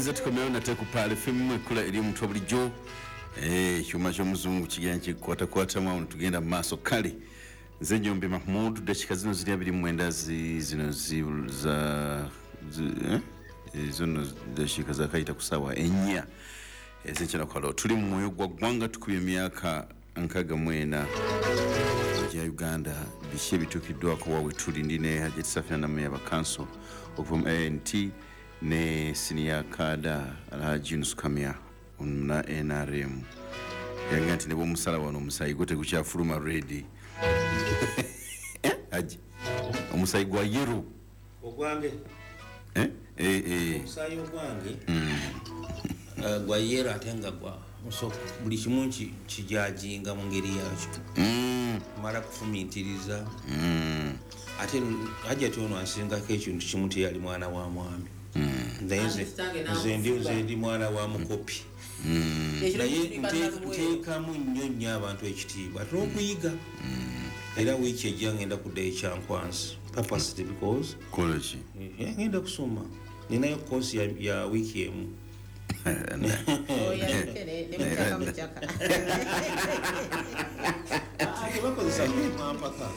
Tukwaniriza, tukomewo nate ku Pearl FM, ekkula eri omuntu bulijjo. Ekyuma ky'omuzungu kigenda kikwatakwatamu awo tugenda mu maaso. Kale nze Nyombi Mahmud. Dakika zino ziri 29 zino za eh? Zino dakiika zakayita ku saawa 4 ez'ekyenakalo. Tuli mu mwoyo gwa ggwanga, tukubye emyaka 64 gya Uganda. Biki ebituukiddwako wawe tuli? Ndi ne Hajati Safina Namuya Bakanso okuva mu ANT ne senior cadre Alhaji Yunus Kamya na NRM. Yagamba nti ne bwomusala wano omusaayi gwo tegukyafuluma red. Haji, omusaayi gwa yellow. Ogwange? Eh? Eh, eh. Omusaayi ogwange gwa yellow, ate nga gwa so buli kimu kijajinga mu ngeri yakyo. Mala kufumiitiriza. Ate Hajati ono ansingako ekintu kimu, teyali mwana wa mwami. Naye nze ndi mwana wa mukopi. Naye nteekamu nnyo nnyo abantu ekitiibwa, ate n'okuyiga. Era wiiki ejja ngenda kuddayo Kyankwanzi purposely because Kola ki? Ngenda kusoma, ninayo course ya wiiki emu. Oyo ne mukyaka mukyaka. Tebakozesa mpaka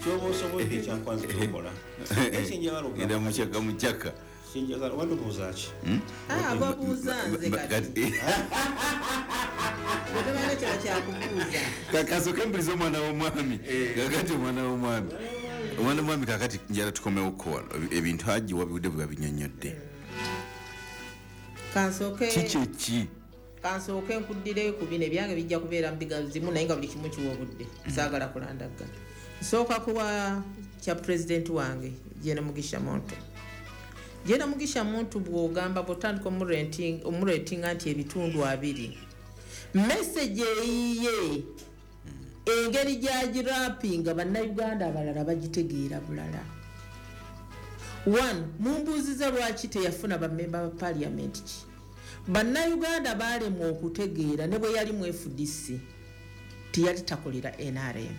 kyoba osobodde Ekyankwanzi kyokola ekyenjagala. Genda mukyaka mukyaka. Kyenjagala wandobuuza ki? Ah, babuuza nze kati. Bwe kino kyakubuuza. Kasooke mpuliriza omwana w'omwami. Kakati omwana w'omwami, kakati njala tukomewoko wano. Ebintu Haji wabigudde bwe babinyonnyodde. Kansooke Kiki eki? Kansooke nkuddireyo ku bino ebyange, bijja kubeera mu bigazimu, naye nga buli kimu kiwa obudde, saagala kulandagga. Nsooka kuwa kya pulezidenti wange Gen Mugisha Muntu. Gen Mugisha Muntu, bw'ogamba, bw'otandika omuratinga nti ebitundu 20, message eyiye, engeri gyagirapinga, bannayuganda abalala bagitegeera bulala. One, mumbuuziza lwaki teyafuna bamemba ba parliament. Ki bannayuganda baalemwa okutegeera, ne bwe yali mu FDC teyali takolera NRM,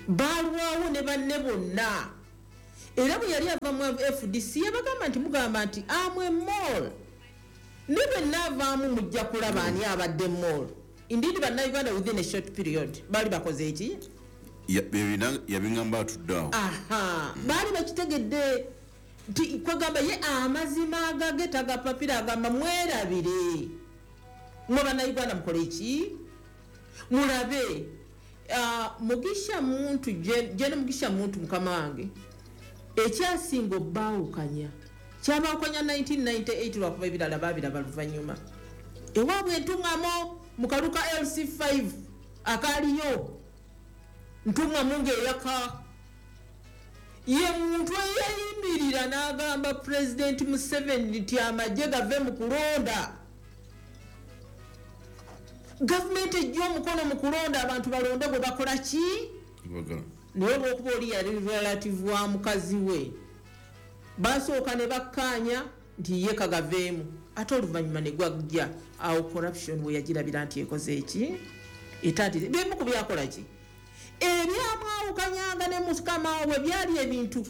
balwawo ne banne bonna. Era bwe yali ava mu FDC yabagamba nti mugamba nti amwe mole, ne bwe naavaamu mujja kulaba ani abadde mole. Indeed, bannayuganda within a short period baali bakoze eki? Yabiŋŋamba atudde awo. Aha, baali bakitegedde nti kwegamba ye amazima agage tagapapira. Agamba mwerabire mwe bannayuganda, mukole eki? Mulabe. Mugisha Muntu, Gen Mugisha Muntu, mukama wange, ekyasinga obbaawukanya kyabaawukanya 1998, lwakuba ebirala babiraba luvannyuma. Ewaabwe entuŋŋamo mu kaluka LC5 akaaliyo ntuŋŋamu ng'eyaka. Ye muntu eyeyimirira n'agamba Pulezidenti Museveni nti amagye gave mu kulonda, gavumenti ejja omukono mu kulonda, abantu balonde gwe bakola ki? Bagala. Naye olwokuba oli yali relative wa mukazi we, basooka ne bakkaanya nti ye kagaveemu, ate oluvannyuma ne gwajja. Awo corruption we yagirabira nti ekoze eki, etandise. Bimu ku byakola ki ebyamwawukanyanga ne mukama we byali ebintu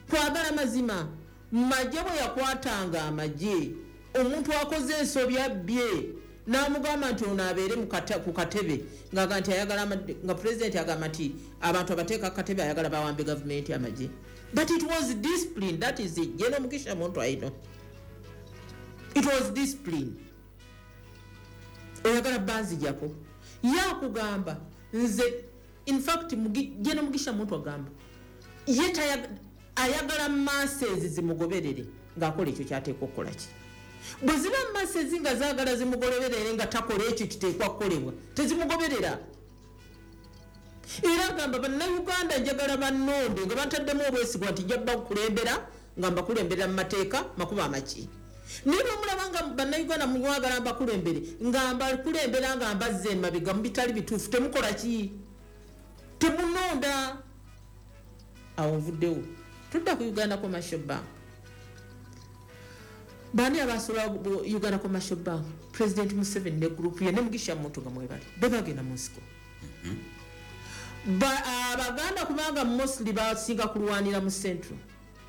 kwagala mazima. Magye bwe yakwatanga amagye, omuntu akoze ensobi, abbye, n'amugamba nti ono abeere ku katebe, ng'aga nti ayagala nga pulezidenti agamba nti abantu abateeka ku katebe ayagala bawambe gavumenti amagye. But it was discipline. That is it. Gen Mugisha Muntu, I know it was discipline. Oyagala banzijako, yakugamba nze, in fact Gen Mugisha Muntu agamba ye ayagala masses zimugoberere ng'akola ekyo kyateekwa okukola. Ki bwe ziba masses nga zaagala zimugoberere nga takola ekyo kiteekwa kukolebwa, tezimugoberera. Era agamba bannayuganda njagala bannonde nga bantaddemu obwesigwa nti nja bakulembera nga mbakulemberera mu mateeka makuba amaki. Naye bwemulaba nga bannayuganda mwagala mbakulembere nga mbakulembera nga mbazza emabega mu bitali bituufu, temukola ki? Temunonda. Awo nvuddewo, tudda ku Uganda Commercial Bank. Baani abasobola Uganda Commercial Bank? President Museveni ne group ye ne Mugisha Muntu nga mwebali be bagenda mu nsiko. Abaganda kubanga mostly basinga kulwanira mu central,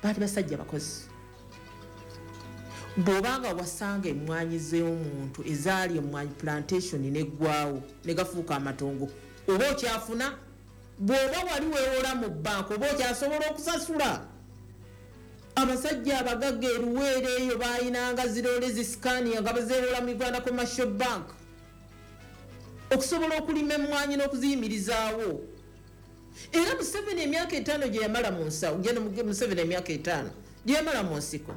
baali basajja bakozi. Bw'obanga wasanga emmwanyi z'omuntu ezaali emmwanyi plantation neggwawo ne gafuuka amatongo, oba okyafuna? Bw'oba wali weewola mu bbanka, oba okyasobola okusasula? Abasajja abagagga eruweero eyo baayinanga zirole zisikania nga bazeewola mu Uganda Commercial Bank okusobola okulima emmwanyi n'okuziyimirizaawo. Era Museveni emyaka 5 gye yamala mu nsawo, Museveni emyaka 5 gye yamala mu nsiko,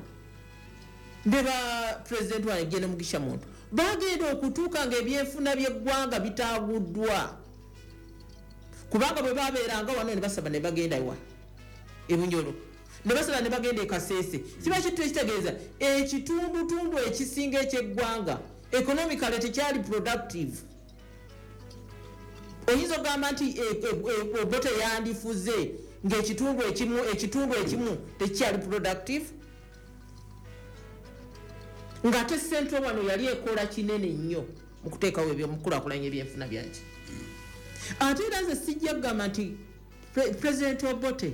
ne ba pulezidenti wange Gen Mugisha Muntu bagenda okutuuka ng'ebyenfuna by'eggwanga bitaaguddwa, kubanga bwe babeeranga wano ne basaba ne bagenda wa ebunyolo, ne basaba ne bagenda e Kasese. Kiba kintu ekitegeeza ekitundutundu ekisinga ekyeggwanga economically tekyali productive. Oyinza okugamba nti Obote yandifuze ng'ekitundu ekimu tekikyali productive, ng'ate Central wano yali ekola kinene nnyo mu kuteekawo ebyomukulaakulanya ebyenfuna byaki. Ate era nze sijja kugamba nti President Obote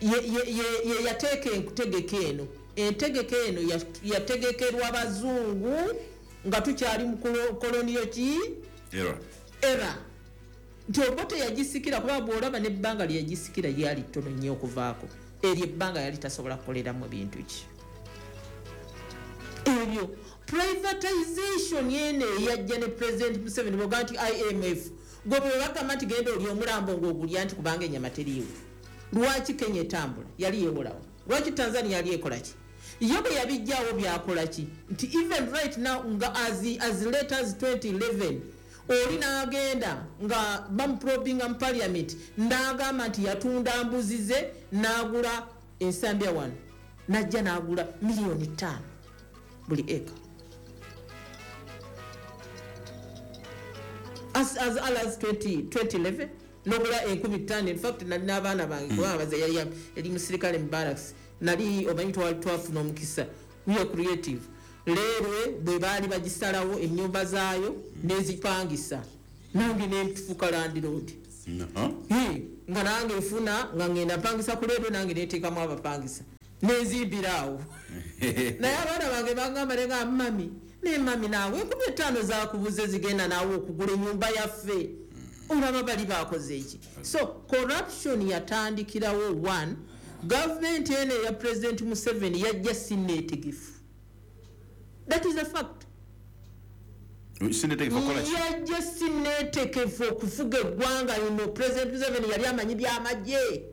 ye yateeka entegeka eno. Entegeka eno yategekerwa bazungu nga tukyali mu koloniyo ki era nti Obote yagisikira, kuba bw'olaba n'ebbanga lye yagisikira lyali ttono nnyo okuvaako eryo ebbanga yali tasobola kukoleramu bintu ki ebyo. Privatization yene eyajja ne President Museveni bw'ogamba nti IMF, gwe bwe bagamba nti genda oli omulambo ng'ogulya nti kubanga ennyama teriiwo. Lwaki Kenya etambula yali yeewolawo? Lwaki Tanzania yali ekola ki? Ye bwe yabijjawo byakola ki? Nti even right now nga as late as 2011 oli n'agenda nga bamuprobinga mu parliament n'agamba nti yatunda mbuzi ze n'agula ensambya wano, n'ajja n'agula miliyoni 5 buli eka. As early as 2011 nogula 5,000. In fact nali n'abaana bange kubanga baze yali musirikale mu barracks, nali omanyi twafuna omukisa, we are creative. Leero bwe baali bagisalawo ennyumba zaayo n'ezipangisa, nange nentufuuka landlord. Nga nange nfuna nga ngenda mpangisa ku leero, nange neteekamu abapangisa nenzimbiraawo. Naye abaana bange bagamba nenga mami, ne mami naawe 5,000 zakubuze zigenda naawe okugula ennyumba yaffe, olaba bali bakoze eki. So corruption yatandikirawo. One, gavumenti eno eya President Museveni yajja sinneetegefu. That is a fact. Yajja sinneetegefu okufuga eggwanga lino. President Museveni yali amanyi byamagye,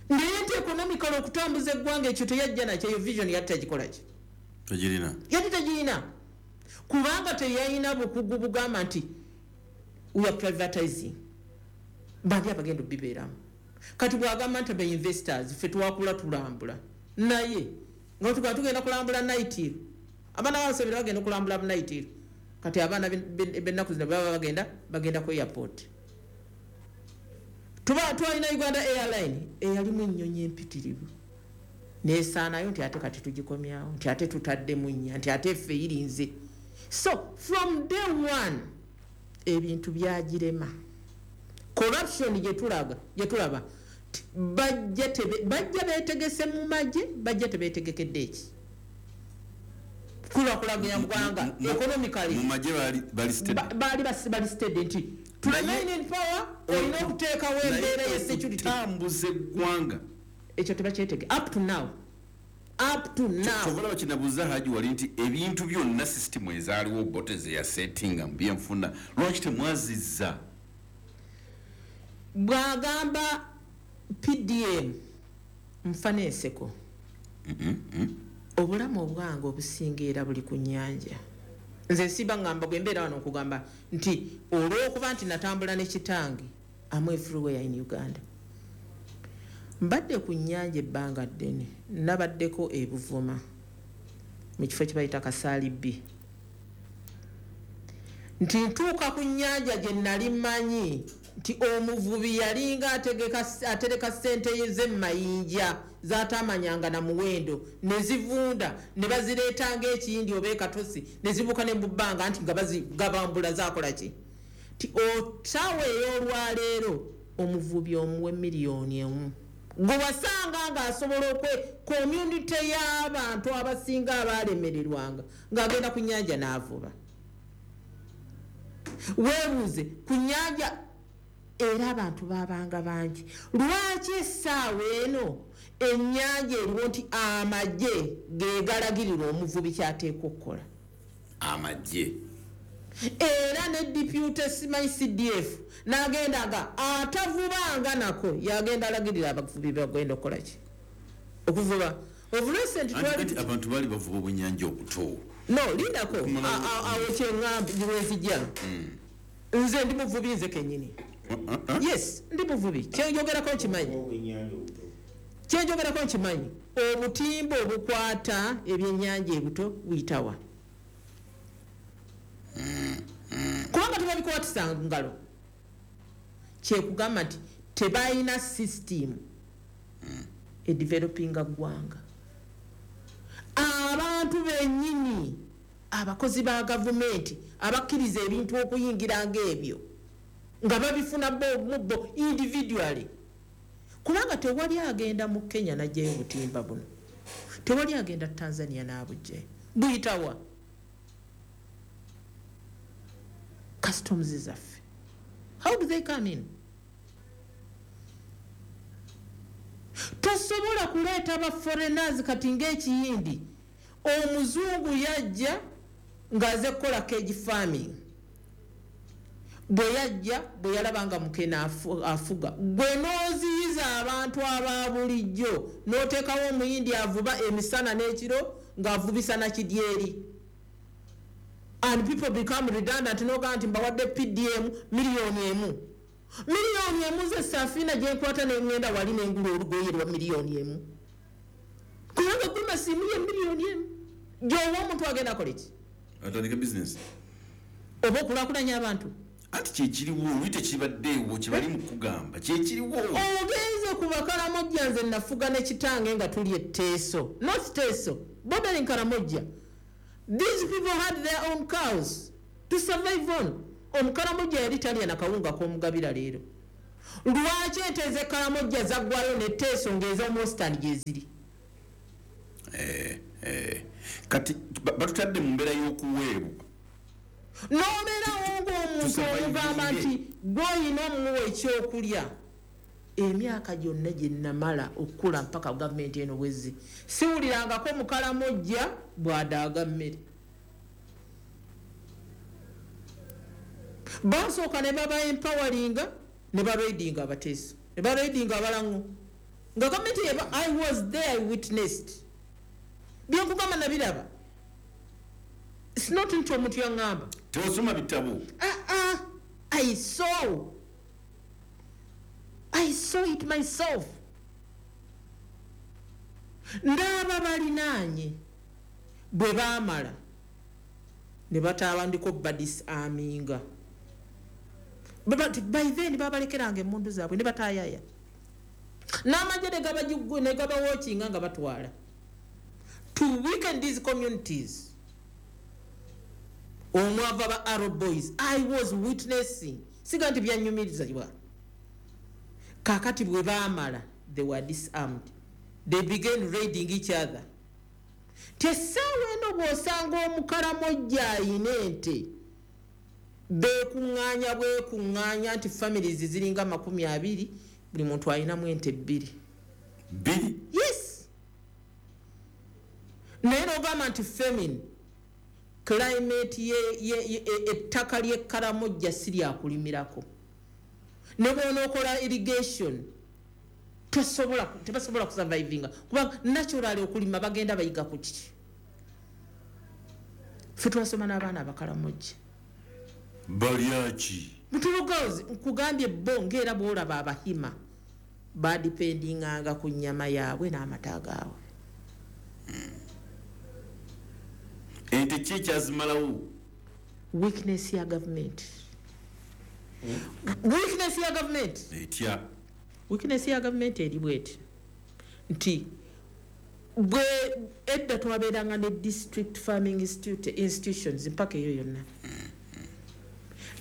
naye nti economical okutambuza eggwanga ekyo teyajja nakyo. Eyo vision yali tagikola ki? Yali tagirina, kubanga teyalina bukugu bugamba nti we are privatizing, bandi abagenda obibeeramu. Kati bwagamba nti be investors, ffe twakula tulambula, naye nga tugenda kulambula Naitiro, abaana babasabira bagenda okulambula Naitiro. Kati abaana b'ennaku zino baba bagenda ku airport. Tuba twalina Uganda Airline eyalimu ennyonyi empitirivu, nesaanayo nti ate kati tugikomyawo, nti ate tutaddemu nnya, nti ate ffe irinze. So from day one ebintu byagirema. Corruption gyetulaba bajja beetegese mu magye, bajja tebeetegekedde eki kulaakulanya ggwanga economically. Mu magye bali steady nti to remain in power olina okuteekawo embeera ya security, tambuza eggwanga. Ekyo tebakyetege up to now. Kyovala bakinabuuza Haji wali nti ebintu byonna system ezaaliwo Obote ze yasettinga mu byenfuna lwaki temwazizza? Bw'agamba PDM nfana enseko. Obulamu obwange obusinga era buli ku nnyanja. Nze siba ngamba bwe mbeera wano okugamba nti olw'okuba nti natambula ne kitange, am everywhere in Uganda. Mbadde ku nnyanja ebbanga ddene, nabaddeko e Buvuma mu kifo kye bayita Kasaali B. Nti ntuuka ku nnyanja gye nali mmanyi nti omuvubi yalinga atereka ssente ze mayinja z'atamanyanga na muwendo, ne zivunda ne bazireetanga ekiyindi oba ekatosi ne zibuuka ne mu bbanga nti nga bazigabambula zaakola ki. Nti otaawa ey'olwaleero omuvubi omuwe miliyoni 1 Gwe wasanga ng'asobola okwe community y'abantu abasinga abalemererwanga ng'agenda ku nnyanja n'avuba. Weebuuze ku nnyanja era abantu babanga bangi. Lwaki essaawa eno ennyanja eriwo nti amagye ge galagirira omuvubi ky'ateekwa okukola? Amagye. Era ne deputy simanyi CDF n'agenda nga atavubanga nako yagenda alagirira abavubi bagenda okukola ki? Okuvuba. Of recent Anti kati abantu baali bavuba obwennyanja obuto. No, lindako awo kyeŋŋamba wenzijja. Nze ndi muvubi nze kennyini. Yes, ndi muvubi. Kyenjogerako nkimanyi. Obwennyanja obuto. Kyenjogerako nkimanyi. Obutimba obukwata ebyennyanja ebuto buyitawa? Kubanga tebabikwatisa ngalo. Kyekugamba nti tebalina system edevelopinga ggwanga. Abantu bennyini abakozi ba gavumenti abakkiriza ebintu okuyingira ng'ebyo nga babifuna bo mu bo individually, kubanga tewali agenda mu Kenya n'aggyayo obutimba buno, tewali agenda Tanzania n'abuggyayo. Buyitawa? Customs zaffe, how do they come in? Tosobola kuleeta ba foreigners. Kati ng'ekiyindi, omuzungu yajja ng'aze kukola cage farming. Bwe yajja, bwe yalaba nga mukene afuga, gwe n'oziyiza abantu aba bulijjo n'oteekawo omuyindi avuba emisana n'ekiro ng'avubisa na kidyeri, and people become redundant. N'ogamba nti mbawadde PDM 1 million, 1 million ze safiina gyenkwata neŋŋenda wali nengula olugoye lwa 1 million, kubanga gumasiimu ye 1 million gyowa omuntu agenda akola ki? Atandika bizinesi. Oba okulaakulanya abantu. Anti kyekiriwo, oli tekibaddeewo kyebali mu kugamba kyekiriwo. Ogenze ku Bakalamojja. Nze nafuga ne kitange nga tuli eteeso, not Teeso, bordering Karamojja. These people had their own cows to survive on. Omukalamojja yali talya nakawunga k'omugabira. Leero lwaki ente z'ekalamojja zaggwayo ne Teeso ng'ez'omu western gyeziri? Kati batutadde mu mbeera y'okuweebwa. N'obeerawo ng'omuntu omugamba nti gw'olina omuwa ekyokulya. Emyaka gyonna gye namala okukula mpaka gavumenti eno bwezzi, siwulirangako mukalamojja bw'adaaga mmere. Basooka ne baba empoweringa ne baraidinga Abateeso ne baraidinga Abalaŋo nga gavumenti yeba. I was there, I witnessed. Byenkugamba nabiraba. It's not nti omuntu yaŋŋamba. Tewasoma bitabo. Ah, ah, I saw. I saw it myself. Ndaba balinaanye bwe baamala ne batandika badisarminga. By then babalekeranga emmundu zaabwe ne batayaya n'amagye ne gabawokinga nga batwala to weaken these communities omwava ba Arrow Boys. I was witnessing, siga nti byanyumirizibwa. Kakati bwe baamala, they were disarmed, they began raiding each other. Tesaawa eno bw'osanga omukalamojja ayina ente, beekuŋŋaanya bwekuŋŋaanya nti families ziringa 20, buli muntu ayinamu ente bbiri. Bbiri? Yes, naye nogamba nti famine climate ettaka ly'ekkalamojja si lyakulimirako, ne bwonookola irrigation tosobola, tebasobola kusurvivinga kubanga naturally okulima bagenda bayiga ku kiki? Ffe twasoma n'abaana abakalamojja. Balyaki? Mutulugozi nkugambye, bo ngaera bwolaba Abahima badipendinganga ku nnyama yaabwe n'amata gaabwe. Ente ki ekyazimalawo? Weakness ya gavumenti, weakness ya gavumenti. Etya? Weakness ya gavumenti eri bweti nti bwe edda twabeeranga ne district farming institutions mpaka eyo yonna,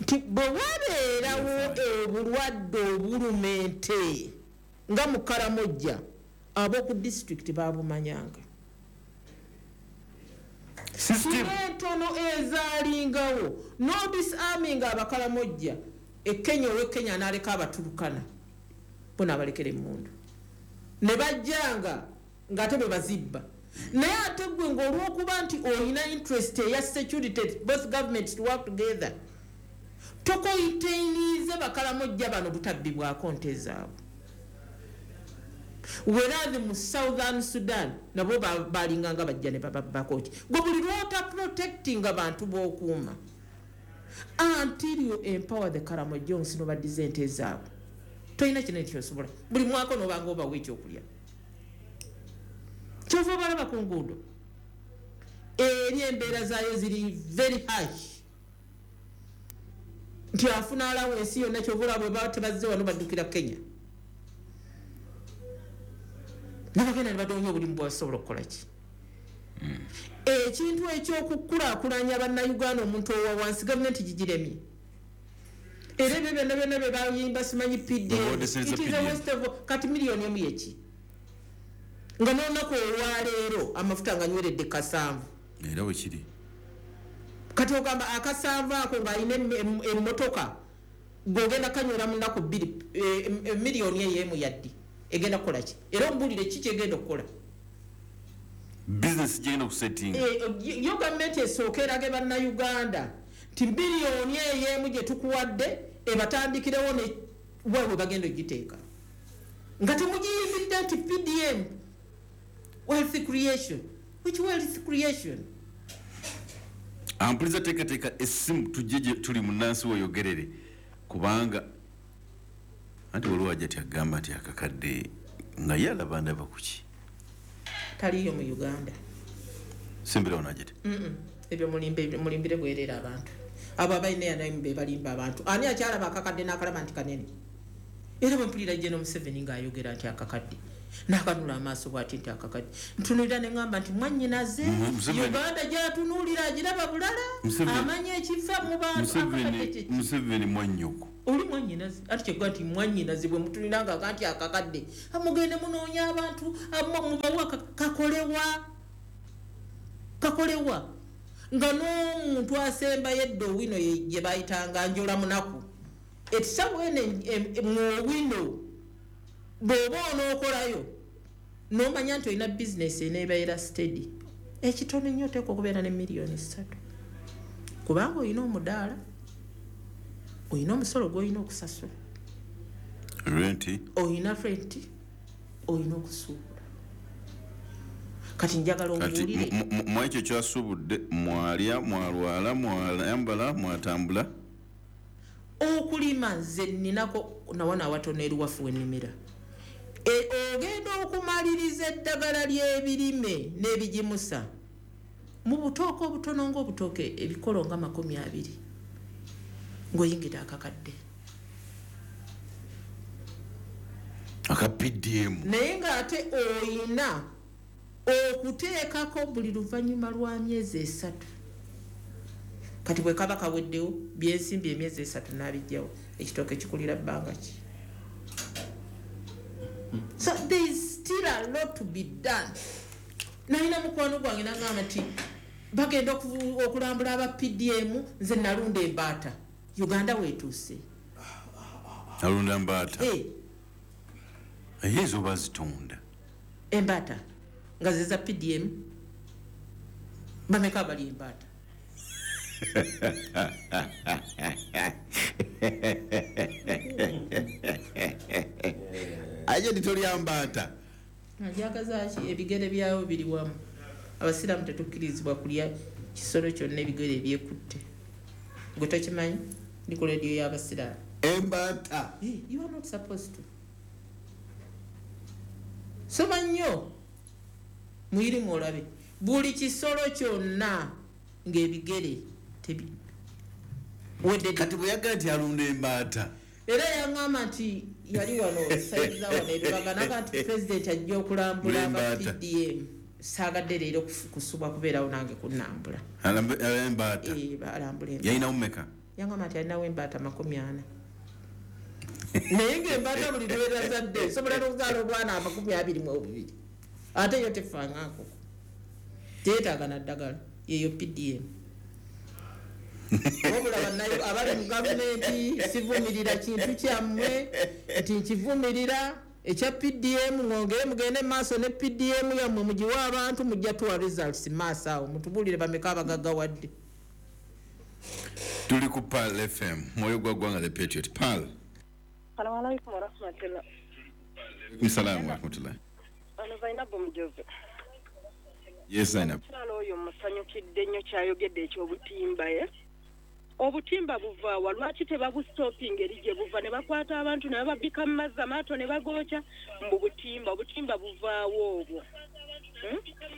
nti bwe wabeerawo obulwadde obuluma ente. Nga mu Karamojja ab'oku disitulikiti babumanyanga. Entono ezaalingawo no disarming Abakaramojja e Kenya, ow'e Kenya n'aleka Abaturukana bo n'abalekera emmundu ne bajjanga ng'ate bwe bazibba. Naye ate gwe ng'olwokuba nti olina interest eya security, both governments to work together, tokoyitainize Bakaramojja bano butabbibwako nte zaabwe. Whereas mu Southern Sudan nabo balinganga bajja ne bababbako ki. Gwe buli lwota protecting abantu b'okuuma until you empower the Karamojong nobaddiza ente zaabwe, tolina kinene kyosobola. Buli mwaka nobanga obawa ekyokulya, kyova obalaba ku nguudo eri embeera zaayo ziri very harsh, nti afuna alawo ensi yonna. Kyova olaba bwe baba tebazze wano baddukira Kenya, nabagenda ne badoonya obulimu bwasobola okukola ki. Ekintu ekyokukulaakulanya Bannayuganda, omuntu owa wansi, gavumenti gigiremye. Era ebyo byonna byonna bye bayimba simanyi PDM, it is a waste of. Kati 1 million yeki, nga n'olunaku olwaleero amafuta nga nyweredde 7. Era bwe kiri. Kati ogamba akasanvu ako ng'alina emmotoka gwogenda kanywera mu nnaku 2, 1 million yaddi egenda kukola ki? Era ombulire ki kyegenda okukola? Bizinesi gigenda okusettinga. Yo gavumenti esooka erage Bannayuganda nti 1 billion gye tukuwadde ebatandikirewo ne waabwe bagenda ogiteeka, nga temugiyimbidde nti PDM wealth creation. Which wealth creation? Ampuliza, teekateeka essimu tujje gye tuli munnansi weyogerere, kubanga anti waliwo ajja ti agamba nti akakadde nga ye alaba ndaba kuki. Taliyo mu Uganda. Semberawo najeti. Ebyo mulimbire bwerera abantu abo abalina yanayimu be balimba abantu. Ani akyalaba akakadde n'akalaba nti kanene? Era bwe mpulira Gen Museveni ng'ayogera nti akakadde, n'akanula amaaso bw'ati nti akakadde, ntunulira ne ŋŋamba nti mwannyinaze. Uganda gy'atunuulira agiraba bulala. Amanya ekifa mu bantu. Akakadde kye ki? Museveni mwannyoko. Oli mwannyinaze, ati kyegga nti mwannyinaze bwe mutunulira nga nti akakadde, mugende munoonya abantu mubawa kakolewa kakolewa, nga n'omuntu asembayo edda Owino gye bayitanga njola munaku ekisawo eno mu Owino. Bw'oba onookolayo n'omanya nti olina bizinesi eneebeera steady, ekitono ennyo oteekwa okubeera ne 3 million, kubanga olina omudaala, olina omusolo gw'olina okusasula, renti, olina renti, olina okusuubula. Kati njagala Kati ombuulire. Mu ekyo kyasuubudde mwalya, mwalwala, mwayambala, mwatambula. Okulima nze ninako nawano awatono eruwafu wennimira. Ogenda okumaliriza eddagala ly'ebirime n'ebigimusa mu butooke obutono ngaobutooke ebikolo nga 20 ng'oyingira akakadde. Aka PDM. Naye ng'ate oyina okuteekako buli luvannyuma lwa myezi 3. Kati bwe kaba kaweddewo byensimbi emyezi 3 n'abijjawo, ekitooke kikulira bbanga ki? So there is still a lot to be done. Nalina mukwano gwange nagamba nti bagenda okulambula aba PDM, nze nalunda embaata. Uganda weetuuse. Alunda mbaata? Eh. Ayinza oba zitunda. Embaata nga zeza PDM, bameka abali embaata? Aye nditolya mbaata. Ajagazaki? Ebigere byawo biri wamu. Abasiraamu tetukkirizibwa kulya kisolo kyonna ebigere ebyekutte. Gwe tokimanyi? Ndi ku rediyo y'abasiraamu. Embaata? Eh, you are not supposed to. Soma nnyo muyirimu olabe buli kisolo kyonna ng'ebigere wedde. Kati bwe yagaa nti alunda embaata. Era yaŋŋamba nti yali wano saiza wano ebibaga naga nti pulezidenti ajja okulambula aba Embaata. PDM, saagadde leero kusubwa kubeerawo nange kunnambula. Embaata? Eh, alambula embaata. Yalinawo mmeka? Yaŋŋamba nti alinawo embaata 40. Naye ng'embaata buli lw'erazadde esobola n'okuzaala obwana 22. Ate yo tefa nga nkoko. Teetaaga na ddagala. Yeyo PDM. Wabula bannayo abali mu gavumenti, sivumirira kintu kyammwe nti nkivumirira ekya PDM. Mwongere mugende maaso ne PDM yammwe, mugiwe abantu, mujja tuwa results maaso awo, mutubuulire bameka abagaggawadde. Tuli ku Pearl FM, mwoyo gwa ggwanga, The Patriot. Pearl. Salamu alaikum warahmatullah. Alaikum salamu warahmatullah. Ono Zainabu Mujozi. Yes, Zainab. Omukyala oyo musanyukidde nnyo kyayogedde ekyobutimba. Ye obutimba buvaawa? Lwaki tebabustopinga eri gye buva ne bakwata abantu ne bababika mu mazzi, amaato ne bagookya? Mbu butimba, obutimba buvaawo obwo?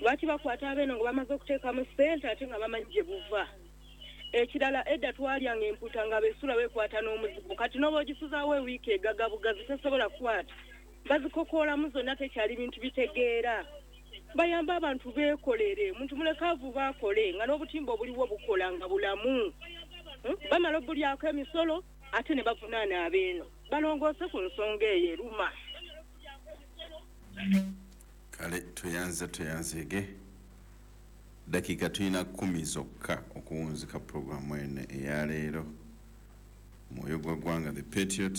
Lwaki bakwata abeeno nga bamaze okuteekamu ssente ate nga bamanyi gye buva? Ekirala, edda twalyanga empuuta nga besula weekwata n'omuzigo. Kati n'oba ogisuzaawo ewiiki egagabugazi, tesobola kukwata, bazikokoolamu zonna, tekyali bintu bitegeera. Bayambe abantu beekolere, muntu muleke avuba akole, nga n'obutimba obuliwo bukola nga bulamu. Bamala obulyako emisolo ate ne bavunaana abeeno. Balongoose ku nsonga eyo eruma. Kale, tweyanze, tweyanzege. Dakiika tulina 10 zokka okuwunzika puroguramu eno eyaleero, mwoyo gwa ggwanga, The Patriot.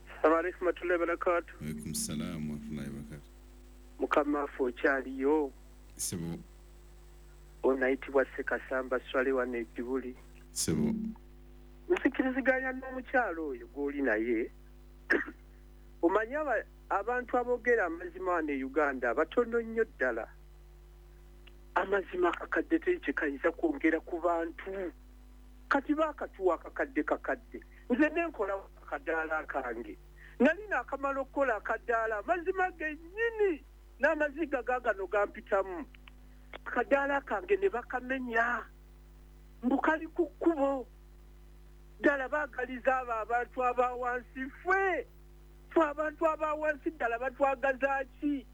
Assalamu alaikum warahmatullahi wabarakatuh. Alaikum salaamu warahmatullahi wabarakatuh. Mukama waffe, okyaliyo? Sebo. Onayitibwa Sekasamba Swale wano ejjubuli. Sebo. Nzikiriziganya n'omukyalo oyo gw'oli naye. Omanyi abantu aboogera amazima wano e Uganda batono nnyo ddala. Amazima, akakadde teri kye kayinza kwongera ku bantu. Kati baakatuwa akakadde kakadde, nze nenkola akadaala kange, nali naakamala okukola akadaala, amazima gennyini n'amaziga gaagano gampitamu. Akadaala kange ne bakamenya mbu kali ku kkubo. Ddala baagaliza abo abantu aba wansi? Ffe ffe abantu aba wansi ddala batwagaza ki?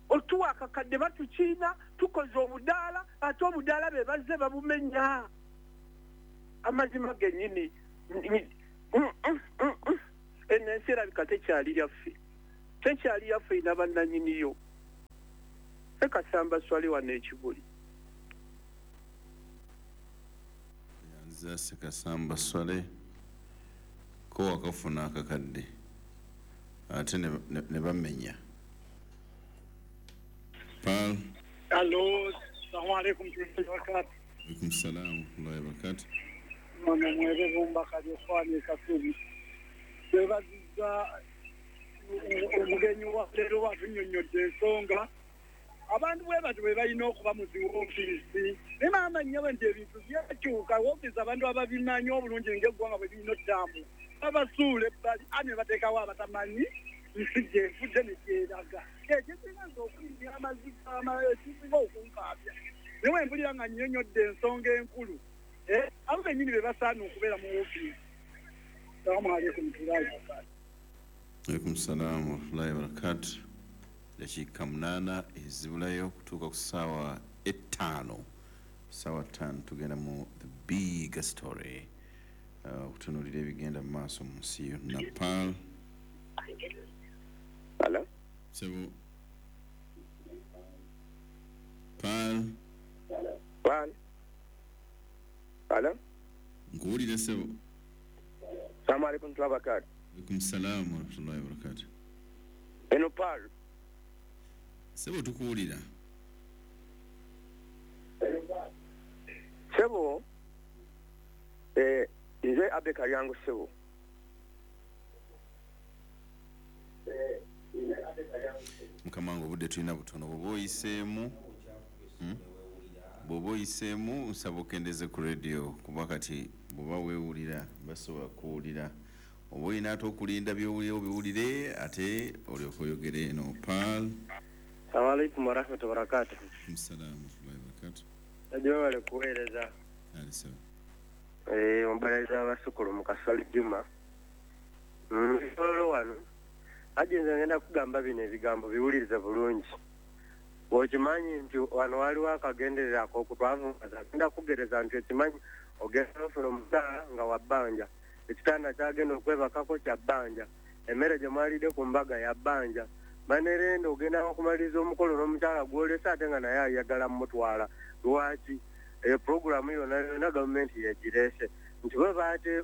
Otuwa akakadde, batukiina, tukoze obudaala, ate obudaala be bazze babumenya. Amazima gennyini, eno ensi erabika tekyali yaffe, tekyali yaffe, ina bannanyiniyo. Sekasamba Swali wano ekibuli. Yanza Sekasamba Swale. Ko wakafuna akakadde ate ne bamenya. Pearl. Allo, salamu alaikum warahmatullahi wabarakatuh. Alaikum salaam warahmatullahi wabarakatuh. Ono mwebe Bumba Kalyokwani Kasubi. Twebaziza omugenyi wa leero watunnyonnyodde ensonga. Abantu bwe batyo bwe balina okuba mu zi woofiisi. Naye maama nnyabo nti ebintu byakyuka, woofiisi abantu ababimanyi obulungi ng'eggwanga bwe birina ottambula babasuula ebbali, ani ne bateekawo abatamanyi nsi gyefudde ne gyeraga. Ekisinga nze okuyimbya amaziga, ekisinga okunkaabya, naye bwe mpulira nga nnyonnyodde ensonga enkulu, abo bennyini be basaana okubeera mu woofiisi. Salaamu alaikum warahmatullahi wabarakatuh. Alaikum salaam warahmatullahi wabarakatuh. Dakiika 8 ezibulayo okutuuka ku ssaawa 5. Ssaawa 5 tugenda mu The Big Story, okutunuulira ebigenda mu maaso mu nsi yonna. Pearl. Hello? Sebo. Pearl. Pearl. Hello? Nkuwulira, sebo. Assalamu alaikum warahmatullahi wabarakatuh. Alaikum salaam warahmatullahi wabarakatuh. Eno Pearl. Sebo, tukuwulira. Sebo, nze Abe Kalyango, sebo. Mukama wange, obudde tulina butono. Bw'oba oyiseemu, Bw'oba oyiseemu, nsaba okendeze ku radio, kuba kati bw'oba weewulira basobola kuwulira. Oba olina ate okulinda byowulira obiwulire, ate olyoka oyogere. Eno Pearl. Assalamu alaikum warahmatullahi wabarakatuh. Salaamu warahmatullahi wabarakatuh. Najua wale kuweereza. Ali sawa. Omubalaliza abasukulu mu Kasali Juma. Olwo wano aje nze ngenda kugamba bino ebigambo, biwulirize bulungi. Okimanyi nti wano waliwo akagenderera ak'okutwavuwaza. Ngenda kugereza nti okimanyi ogenda ofuna omusaala nga wa bbanja. Ekitanda kyagenda okwebakako kya bbanja, emmere gye mwalidde ku mbaga ya bbanja. Manerenda ogenda okumaliriza omukolo n'omukyala gw'olese ate nga naye ayagala mutwala. Lwaki? Eyo puroguramu yonna yonna gavumenti yegireese nti bwe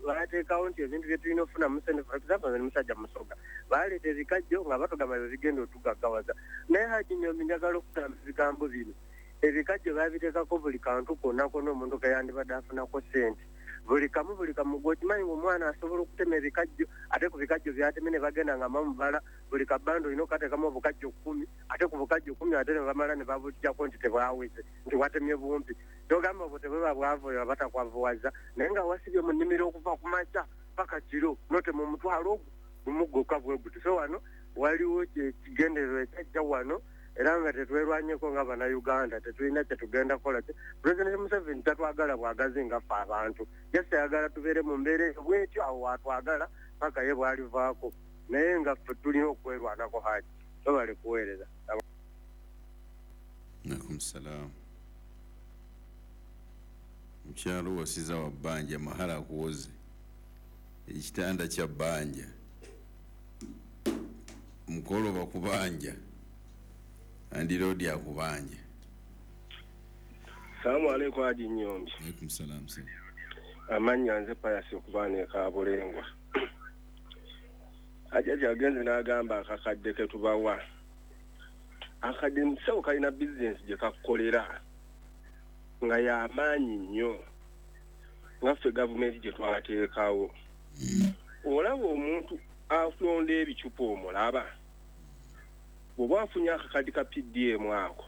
baateekawo nti ebintu bye tulina okufunamu ssente. For example, nze musajja Musoga, baaleeta ebikajjo nga batugamba bye bigenda otugaggawaza. Naye Haji Nyombi, njagala okugamba ebigambo bino: ebikajjo babiteekako buli kantu konna konna omuntu keyandibadde afunako ssente, buli kamu, buli kamu. Gwe okimanyi nga omwana asobola okutema ebikajjo, ate ku bikajjo byateme ne bagenda nga bamubala buli kabanda olina okukateekamu obukajjo 10, ate ku bukajjo 10 ate ne bamala ne babuggyako nti tebwaweze, nti watemye bumpi. Togamba obwo tebweba bwavu, oyo batakwavuwaza. Naye nga wasibye mu nnimiro okuva ku makya paka kiro, notema omutwalo ogwo gumu gwokka bwe guti. So wano waliwo ekigendererwa ekyajja wano, era nga tetwerwanyeko nga Bannayuganda tetulina kyetugenda kukola. President Museveni tatwagala bwagazi nga ffe abantu, just ayagala tubeere mu mbeera eyo bwetyo, awo watwagala paka ye bwalivaako. Naye nga ffe tulina okwerwanako. Haji, tobale kuweereza. Alaikum salam. Mukyalo wasiza wa bbanja, mahala akuwoze, ekitanda kya bbanja, mukolo bakubanja, andiroodi akubanja. Salaamu alaikum, Haji Nyombi. Alaikum salam sir. Amannya nze Payasi okuva ne Kabulengwa. Ajaji agenze n'agamba akakadde ke tubawa. Akadde musawo kalina bizinesi gye kakukolera nga y'amaanyi nnyo nga ffe gavumenti gye twateekawo. Olaba omuntu akulonda ebicupa, omulaba bw'oba afunye akakadde ka PDM ako,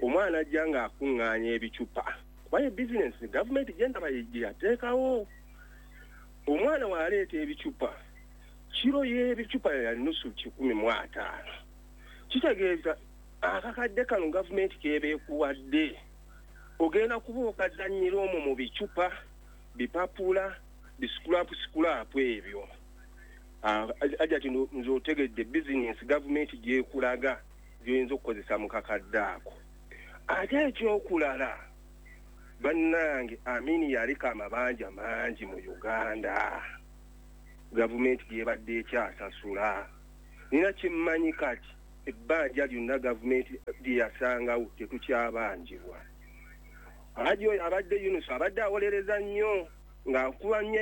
omwana ajja ng'akuŋŋaanya ebicupa, kuba ye bizinesi gavumenti gye ndaba gye yateekawo. Omwana w'aleeta ebicupa, kiro y'ebicupa ya nusu 150, kitegeeza akakadde kano gavumenti k'eba ekuwadde ogenda kuba okazannyira omwo mu bicupa, bipapula, bisikulapu sikulapu ebyo. Ajja ti nze otegedde bizinesi gavumenti gy'ekulaga gy'oyinza okukozesa mu kakadde ako. Ate ekyokulala, bannange, Amini yaliko amabanja mangi mu Uganda gavumenti gyebadde ekyasasula. Nina kyemmanyi kati, ebbanja lyonna gavumenti lye yasangawo tetukyabanjibwa. Haji oyo abadde Yunus abadde awolereza nnyo ng'akuba nnyo.